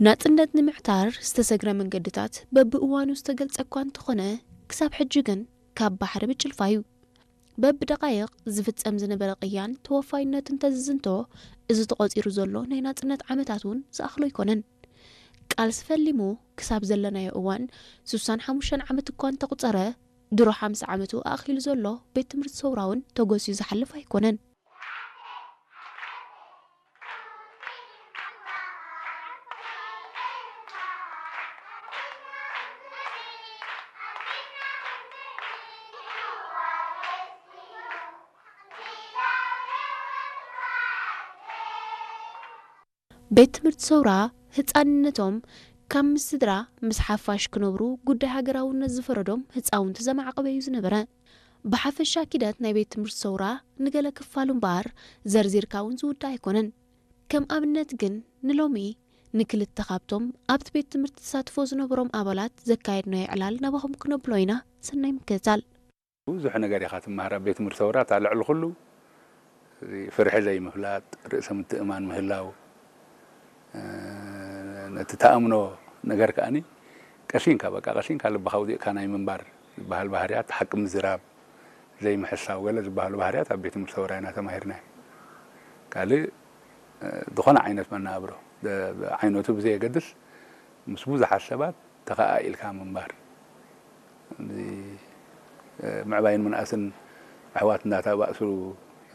ናጽነት ንምዕታር ዝተሰግረ መንገድታት በብእዋኑ ዝተገልጸ እኳ እንተኾነ፣ ክሳብ ሕጂ ግን ካብ ባሕሪ ብጭልፋ እዩ። በብደቓይቕ ዝፍጸም ዝነበረ ቅያን ተወፋይነት እንተዝዝንቶ፣ እዚ ተቖጺሩ ዘሎ ናይ ናጽነት ዓመታት እውን ዝኣኽሎ ኣይኮነን። ቃልሲ ፈሊሙ ክሳብ ዘለናዮ እዋን ስሳን ሓሙሽተን ዓመት እኳ እንተቑጸረ፣ ድሮ ሓምሳ ዓመቱ ኣእኺሉ ዘሎ ቤት ትምህርቲ ሰውራ እውን ተጎስዩ ዝሓልፍ ኣይኮነን። ቤት ትምህርቲ ሰውራ ህጻንነቶም ካብ ምስ ስድራ ምስ ሓፋሽ ክነብሩ ጉዳይ ሃገራውነት ዝፈረዶም ህጻውንቲ ዘማዕቐበ እዩ ዝነበረ። ብሓፈሻ ኪደት ናይ ቤት ትምህርቲ ሰውራ ንገለ ክፋሉ እምበኣር ዘርዚርካ እውን ዝውዳእ ኣይኮነን። ከም ኣብነት ግን ንሎሚ ንክልተ ካብቶም ኣብቲ ቤት ትምህርቲ ተሳትፎ ዝነበሮም ኣባላት ዘካየድናዮ ዕላል ናባኹም ክነብሎ ኢና። ሰናይ ምክትታል። ብዙሕ ነገር ኢኻ ትመሃር ኣብ ቤት ትምህርቲ ሰውራ። እታ ልዕሊ ኩሉ ፍርሒ ዘይምፍላጥ፣ ርእሰ ምትእማን ምህላው፣ እ፣ ነቲ ተኣምኖ ነገር ከኣኒ ቀሲንካ፣ በቃ ቀሲንካ ልብኻ ኣውዲቕካ ናይ ምንባር ዝበሃል ባህርያት፣ ሓቂ ምዝራብ፣ ዘይምሕሳው፣ ገለ ዝበሃሉ ባህርያት ኣብ ቤት ትምህርቲ ሰውራ ኢና ተማሂርና። ካልእ፣ እ፣ ዝኾነ ዓይነት መነባብሮ፣ ደ-፣ ዓይነቱ ብዘየገድስ ምስ ብዙሓት ሰባት ተኸኣኢልካ ምንባር። እዚ፣ እ፣ ምዕባይን ምንኣስን ኣሕዋት እናተባእሱ፣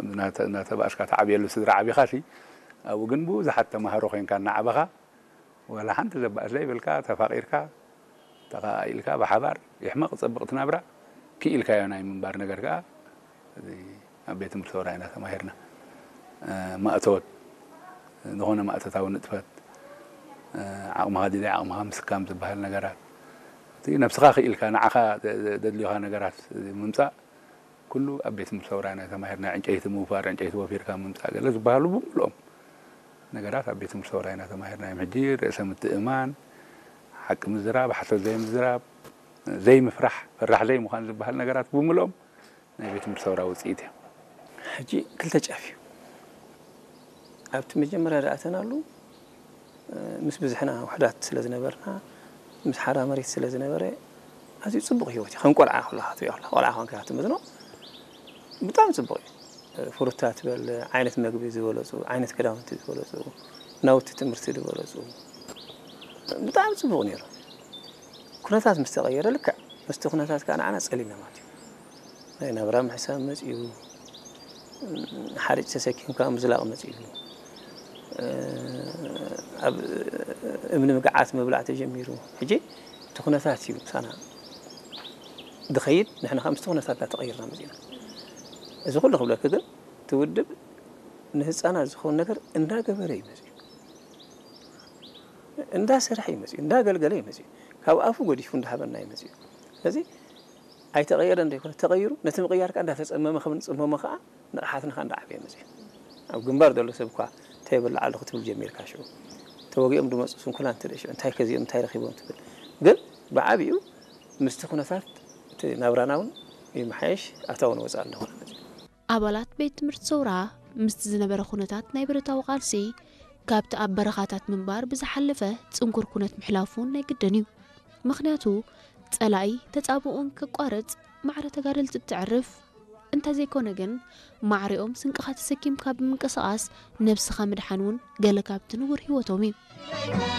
እናተ-፣ እናተባእስካ ትዓብየሉ ስድራ ዓቢኻሲ፣ ኣብኡ ግን ብዙሓት ተማሃሮ ኮይንካ እናዓበኻ፣ ዋላ ሓንቲ ዘባእስ ዘይብልካ፣ ተፋቒርካ፣ ተኸኣኢልካ፣ ብሓባር ይሕመቕ ጸብቕ ትናብራ ክኢልካዮ ናይ ምንባር ነገር ከኣ፣ እዚ ኣብ ቤት ትምህርቲ ሰውራ ኢና ተማሂርና። እ፣ ማእቶት፣ ዝኾነ ማእቶታዊ ንጥፈት፣ እ፣ ዓቕምኻ ድልይ ዓቕምኻ ምስካም ዝበሃል ነገራት፣ እቲ ነብስኻ ክኢልካ ንዓኻ ደ-፣ ደ-፣ ደድልዮኻ ነገራት ምምጻእ፣ ኩሉ ኣብ ቤት ትምህርቲ ሰውራ ኢና ተማሂርና። ዕንጨይቲ ምውፋር፣ ዕንጨይቲ ወፊርካ ምምጻእ፣ ገለ ዝበሃሉ ብምልኦም ነገራት ኣብ ቤት ትምህርቲ ሰውራ ኢና ተማሂርና። እዮም ሕጂ ርእሰ ምትእማን፣ ሓቂ ምዝራብ፣ ሓሶት ዘይምዝራብ፣ ዘይምፍራሕ፣ ፈራሕ ዘይምዃን ዝበሃል ነገራት ብምልኦም ናይ ቤት ትምህርቲ ሰውራ ውጽኢት እዮም። ሕጂ ክልተ ጫፍ እዩ። ኣብቲ መጀመርያ ዝኣተናሉ፣ እ፣ ምስ ብዝሕና ውሑዳት ስለ ዝነበርና፣ ምስ ሓራ መሬት ስለ ዝነበረ፣ ኣዝዩ ጽቡቕ ህይወት እዩ። ከም ቆልዓ ከለኻ ትሪኦ ከለኻ፣ ቆልዓ ኮንካ ትመዝኖ፣ ብጣዕሚ ጽቡቕ እዩ። ፍሩታት በል፣ ዓይነት መግቢ ዝበለጹ፣ ዓይነት ክዳውንቲ ዝበለጹ፣ ናውቲ ትምህርቲ ዝበለጹ፣ ብጣዕሚ ጽቡቕ ነይሩ። ኩነታት ምስ ተቐየረ፣ ልክዕ ምስቲ ኩነታት ከኣ ንዓና ጸሊምና ማለት እዩ። ናይ ናብራ ምሕሳብ መጺኡ፣ ሓርጭ ተሰኪምካ ምዝላቕ መጺኡ፣ ኣብ እምኒ ምግዓት ምብላዕ ተጀሚሩ። ሕጂ እቲ ኩነታት እዩ ምሳና ዝኸይድ፣ ንሕና ከኣ ምስቲ ኩነታት እናተቐየርና መጺእና። እዚ ኩሉ ክብለኪ ግን፣ እቲ ውድብ ንህጻናት ዝኸውን ነገር እንዳገበረ እዩ መጺኡ። እንዳሰርሐ እዩ መጺኡ፣ እንዳገልገለ እዩ መጺኡ። ካብ ኣፉ ገዲፉ እንዳሃበና እዩ መጺኡ። ስለዚ ኣይተቐየረን ዘይኮነ፣ ተቐይሩ፣ ነቲ ምቕያር ከኣ እንዳተጸመመ ከም ንጽመሞ ከኣ ንቕሓትና ከኣ እንዳዓበየ መጺኡ። ኣብ ግንባር ዘሎ ሰብ እኳ እንታይ ይበልዕ ኣለኹ ትብል ጀሚርካ ሽዑ። ተወጊኦም ዝመጹ ስንኩላን ትርኢ ሽዑ፣ እንታይ ከዚኦም እንታይ ረኺቦም ትብል። ግን ብዓቢኡ ምስቲ ኩነታት እቲ ናብራና እውን ይመሓየሽ፣ ኣታዊ ንወጻኢ እንዳኾነ መጺኡ። ኣባላት ቤት ትምህርቲ ሰውራ ምስቲ ዝነበረ ኩነታት ናይ ብረታዊ ቃልሲ ካብቲ ኣብ በረኻታት ምንባር ብዝሓለፈ ጽንኩር ኩነት ምሕላፉ እውን ናይ ግድን እዩ። ምኽንያቱ ጸላኢ ተጻብኦን ከቋርጽ ማዕረ ተጋደልቲ እተዕርፍ እንተዘይኮነ ግን ማዕሪኦም ስንቅኻ ተሰኪምካ ብምንቅስቓስ ነብስኻ ምድሓን እውን ገለ ካብቲ ንቡር ህይወቶም እዩ።